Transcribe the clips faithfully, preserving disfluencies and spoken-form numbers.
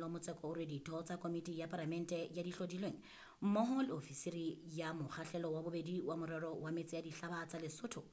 Motseko o re ditho tsa komiti ya palamente ya dihlodilweng mmoho le ofisiri ya mokgahlelo wa bobedi wa morero wa metse ya dihlaba tsa Lesotho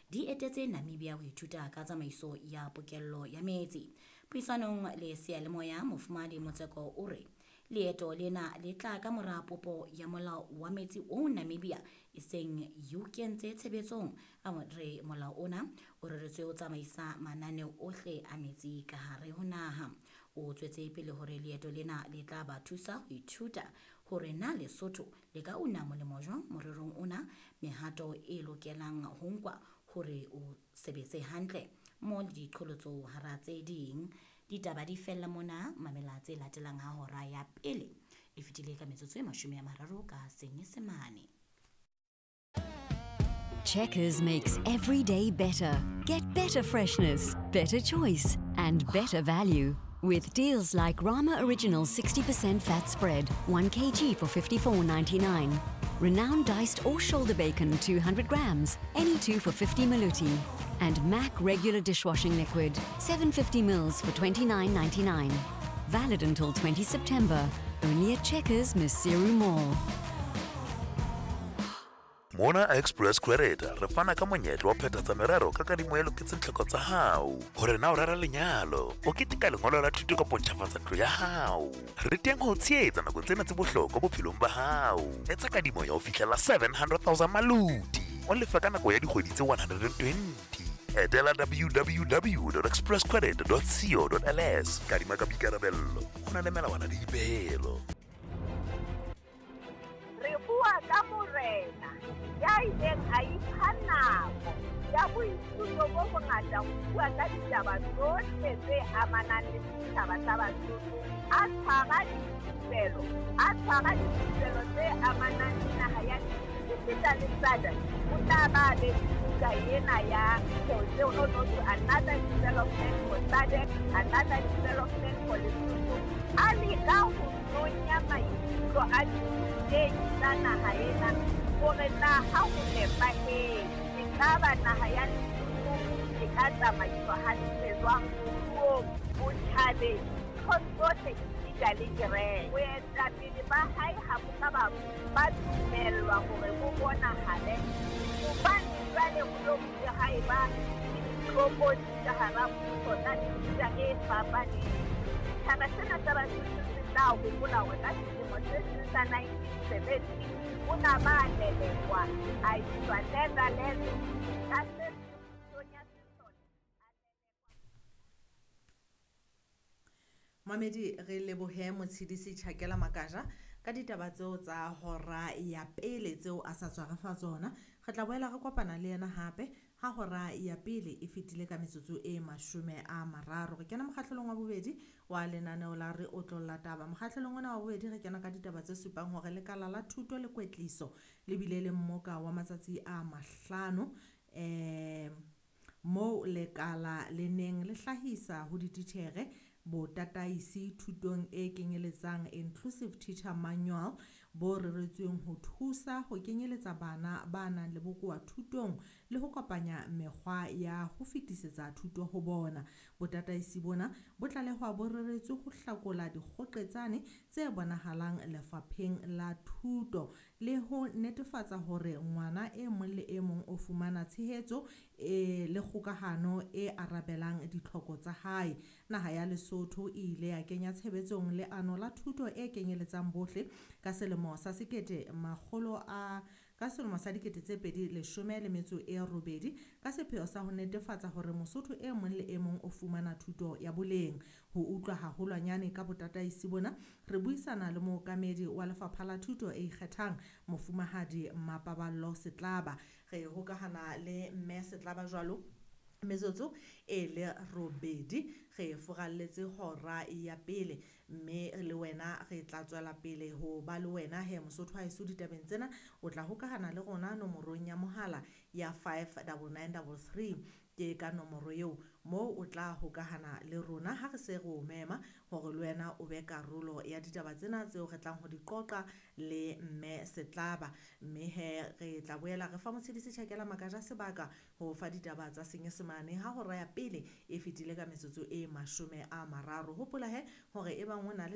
di etetse Namibia ho ithuta ka tsamaiso ya pokello ya metsi. Puisanong le seyalemoya, Mofumahadi Motseko o re leeto lena le tla ka mora popo ya molao wa metsi o Namibia e seng e o kentse tshebetsong. A re molao ona o reretswe ho tsamaisa mananeo ohle a metsi ka hare ho naha. O tswetse pele hore leeto lena le tla ba thusa ho ithuta hore na Lesotho le ka una molemo jwang morerong ona, mehato e lokelang ho nkwa hore o sebetse hantle mo le diqholotso hara tse ding. Ditaba di fella mona, mamela tse latelang ha hora ya pele e fetile ka metsotso e mashome a mararo ka Senyesemane. Checkers makes every day better. Get better freshness, better choice, and better value. With deals like Rama Original sixty percent fat spread, one kilogram for fifty-four ninety-nine. Renowned diced or shoulder bacon, two hundred grams, any two for fifty maluti. And Mac regular dishwashing liquid, seven fifty mils for twenty-nine ninety-nine. Valid until twenty September. Only at Checkers, Maseru Mall. Mona Express Credit re fana ka monyetla wa phethatsa merero ka kadimo e loketseng tlhoko tsa hao. Hore na o rera lenyalo, o keteka lengolo la thuto kapa o ntjhafatsa ntlo ya hao. Re teng ho tshehetsa nakong tsena tse bohlokwa bophelong ba hao. Etsa kadimo ya ho fihlela seven hundred thousand maluti. O lefa ka nako ya dikgwedi tse one hundred and twenty. Etela w w w dot express credit dot co dot l s. Kadima ka boikarabello. Ho na le melawana le dipehelo. Re bua ka morena ya ileng a ipha nako ya boithuto bo bongata ho bua ka ditaba tsohle tse amanang le setjhaba sa Basotho, a tshwara dithupelo, a tshwara dithupelo tse amanang le naha ya esita le S A D C. O tla ba be buka ena ya no no to another development for S A D C, another development for Lesotho. A leka ho nonya maikutlo a dithutehi tsa naha ena hore na ha ho nepahetse ekaba naha ya Lesotho e ka tsamaiswa hantle jwang moruong, botjhabeng, ntho tsohle esita le kereke. Boetapele ba hae ha bo ka ba ba dumellwa hore bo bonahale hobane jwale ho lo bile ha eba le ditlokotsi ka hara puso tsa mefuta e fapaneng. Setjhaba sena sa Basotho se tla hopola hore ka selemo se seng sa nineteen seventy o na ba lelekwa a iswa Netherlands ka se pusong ya sesole a lelekwa. Mamedi, re lebohe Motshidisi Tjhakela Makaja ka ditaba tseo tsa hora ya pele tseo a sa tswa re fa tsona. Re tla boela re kopana le yena hape ha hora ya pele e fetile ka metsotso e mashome a mararo. Re kena mokgahlelong wa bobedi wa lenaneo la Re Otlolla Taba. Mokgahlelong ona wa bobedi re kena ka ditaba tse supang hore lekala la thuto le kwetliso le bile le mmoka wa matsatsi a mahlano, eh moo lekala le neng le hlahisa ho dititjhere botataisi thutong e kenyeletsang Inclusive Teacher Manual bo reretsweng ho thusa ho kenyeletsa bana ba nang le bokowa thutong le ho kopanya mekgwa ya ho fetisetsa thuto ho bona. Botataisi bona bo tlalehwa bo reretswe ho hlakola dikgoqetsane tse bonahalang lefapheng la thuto le ho netefatsa hore ngwana e mong le e mong o fumana tshehetso e le kgokahano e arabelang ditlhoko tsa hae. Naha ya Lesotho e ile ya kenya tshebetsong leano la thuto e kenyeletsang bohle ka selemo sa sekete makgolo a ka selemo sa dikete tse pedi leshome le metso e robedi ka sepheo sa ho netefatsa hore Mosotho e mong le e mong o fumana thuto ya boleng. Ho utlwa haholwanyane ka botataisi bona, re buisana le mookamedi wa lefapha la thuto e ikgethang, Mofumahadi Mapaballo Setlaba. Re hokahana le Mme Setlaba jwalo metsotso e le robedi re furalletse hora ya pele, mme le wena re tla tswela pele ho ba le wena he Mosotho ha eso ditabeng tsena. O tla hokahana le rona nomorong ya mohala ya five double nine double three. Ke ka nomoro eo moo o tla hokahana le rona ha re se re o mema hore le wena o be karolo ya ditaba tsena tseo re tlang ho di qoqa le mme Setlaba. Mme he re tla boela re fa Motshedisi Tjhakela Makaja sebaka ho fa ditaba tsa Senyesemane ha hora ya pele e fetile ka metsotso e mashome a mararo. Hopola he hore e bang o na le